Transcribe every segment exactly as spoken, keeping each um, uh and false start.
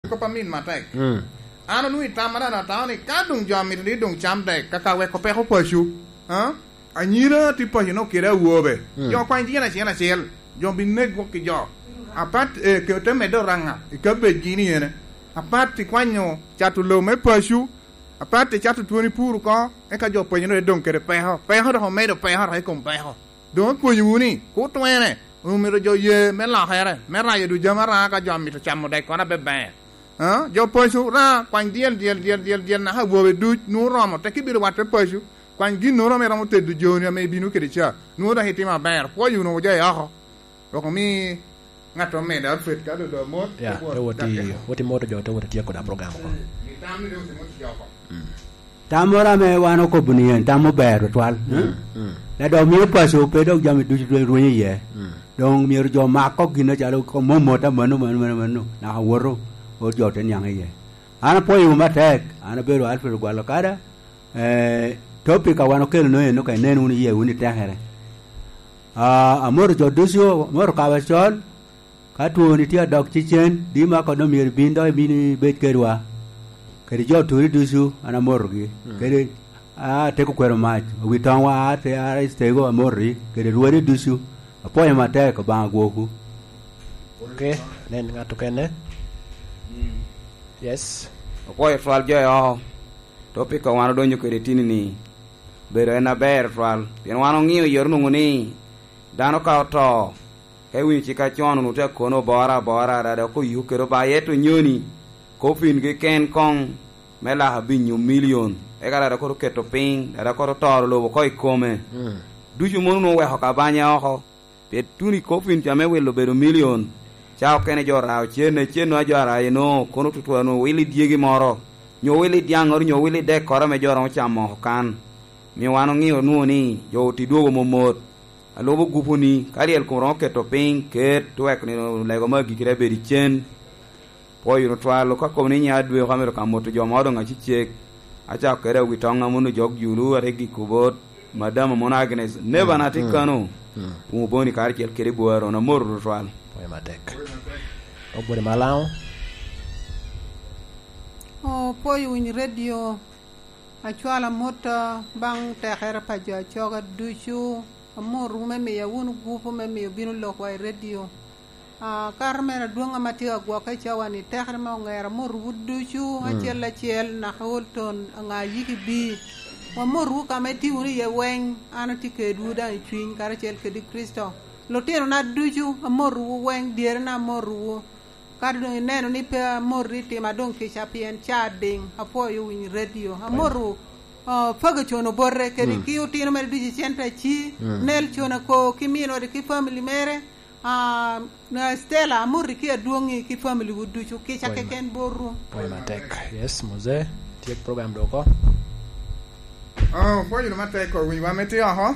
Kop amin matek. Mm. An onwoŋo i tamma daŋ atamo ni ka doŋ jo amito ni doŋ cam dek, kaka weko peko paco, a? Anyira tye paco nok kede awobe. Mm. Jo kwany tyen acel acel, jo bi nek gwok ki jo. Apat, eh, ke ote medde oraŋa i kabejgi ni ene. Apat i kwanyo cato lobo me paco, apat i cato twoni pur oko, eka jo paco ni doŋ kede peko. Peko dok omedo peko dok i kom peko. Doŋ apwonyowu ni, kur twene, omito jo ye me lokere, me rayo dul jami araŋa ka jo amito camo dek kono abeber. A? Jo paco ra, kwany dyel, dyel, dyel, dyel, dyel, naka awobe duc, nwoŋo romo, tek ibino watte paco, kwany ginnoro ame romo tedo joni ame ibino kede ca, nwoŋo dok itimo aber, pwoyo wunu oja i oko. Dok omi ŋat omedde Alfred ka dodo mot, Ya, te wot te wot i, dakke. Wot i moto jo, te wot i tyeko da program oko. Mm. Tam moro ame wan okobo ni en tam ober tutwal, mm, mm. Ladok mio paco pe dok jami ducu dwe rwenyo iye. Mm. Doŋ myero jo mak kok gin acalo ko momot a mano, mano, mano, mano, naka woto, ot jo te niaŋ iye. An apwoyowu matek, an abedo Alfred Ogwalo Kada, eh, topic a wan okelo no eno ka inen wunu iye wunu i tekere. Ah, amoto jo ducu, amoto kabo acol, ka twoni tye adok cecen, di ma kono myero ibin dok ibin ibed kedwa. Kede jo turi ducu, an amotogi. Mm. Kede, ah, ateko kwero mac, owi toŋwa, ah, te, ah, tego amoti, kede rwodi ducu. Apwoyo matek, Obaŋa gwokwu. Ok, nen ŋat okene. Mm. Yes. Apwoyo twal jo i oko. Topic a wan odonyo kede tini ni, bedo en aber twal. Pien wan oŋio yot onwoŋo ni dano ka oto, ka iwinyo cik acon onwoŋo tye akono obora abora, dada oko yuk kede obaye to nyoni, kopin keken koŋ me laka binyo milion, eka dada koro keto piny, dada koro toro lobo oko i kome. Mm. Ducu mono onwoŋo weko kabanya oko. Pien tuno i kopin ca me wilo obedo milion, ca okene jo orao cen, cen a jo arayo eno, kono tutu anu wil i dyegi moro, nyo wil i dyaŋŋoro, nyo wil i dekkoro ame jo romo camo oko kan. Mio wan oŋio nwoŋo ni jo oti dwogo momot. Alubo gupu ni, ka lyel kom romo keto piny, ket, wek ni lego me agikki te bedo i cen. Pwoyo wunu twal, ka kobo ni nya dwe oko amito ka moto jo ma odoŋ acecek, acako kede awi toŋ a mono jok Julu, ate giko bot, Madam a mono Agnes, neba na tye kano, mm, Puŋo Boni karacel kede Bwaro, na moto tutwal. Pwoyo matek. Ogwode Malaŋo. Oh, pwoyo winy redio, acwalo amot, ah, baŋ tekere pa jo acoga ducu, amotowu me miya wunu gupu me miyo bino lokwa i redio. Ah, kato mere adwoŋ ame atye ka gwokke i cawa-ni, tekere me oŋero amotowu ducu, mm, acel acel, naka Olton, aŋa yiki bi. Wamotowu ka ame itye wunu iye weŋ, an atye kedwu daŋ i cwiny karacel kede Kricito. Lutinona ducu, amotowu weŋ, dyerena amotowu. Kato doŋ ineno ni pe amoti i tima doŋ kica pien ca diŋ, apwoyo winy redio. Amotowu, ah, Ferguson Obote, kede, mm, ki otino mere ducu i center ci, mm, Nelson Ako, ki min ode, ki family mere. Ah, na Stella, amoti ki adwoŋi ki family wu ducu, kica keken botwu. Pwoyo matek. Yes, Mose, tyek program doko. Oh, pwoyo wunu matek, owinyo wa me tye oko.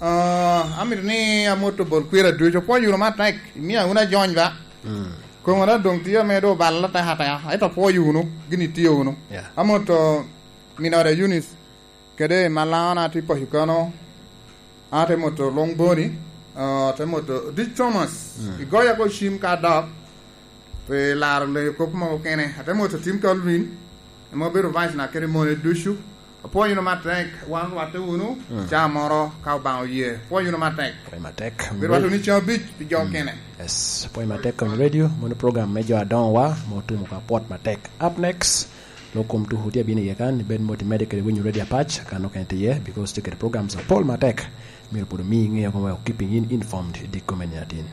Ah, amito ni amot obol kwira ducu. Pwoyo wunu matek, imia wunu ajony ba. Mm. Koŋona doŋ tye ame doŋ obalo atek ateka, ento pwoyo wunu, gin itye wunu. Yeah. Amot, oh, min ode Eunice. Kede Malaŋo na tye paco kano, ate moto Long Boni, ah, ate moto Dick Thomas, mm, igoya ko cim ka dok, pe laro leyo kop mogo kene. Ate moto Tim Calvin, ema obedo vice na kede mone ducu. Apwoyo wunu matek, wan rwatte wunu, mm, ca moro ka Obaŋa oye. Apwoyo wunu matek. Apwoyo matek. Bi rwatte wunu ceng abic pi jo, mm, kene. Yes, apwoyo matek kom radio, mono program me jo adoŋowa, ma otumo ka pwot matek. Up next, Lok kom tuko tye abino iye kan, ibed mot imedde kede winyo radio apac, kan okene tye iye, because tye kede programs apol matek. Myero pwod omi iŋeo kome wek keeping in informed i dikko me nino atin.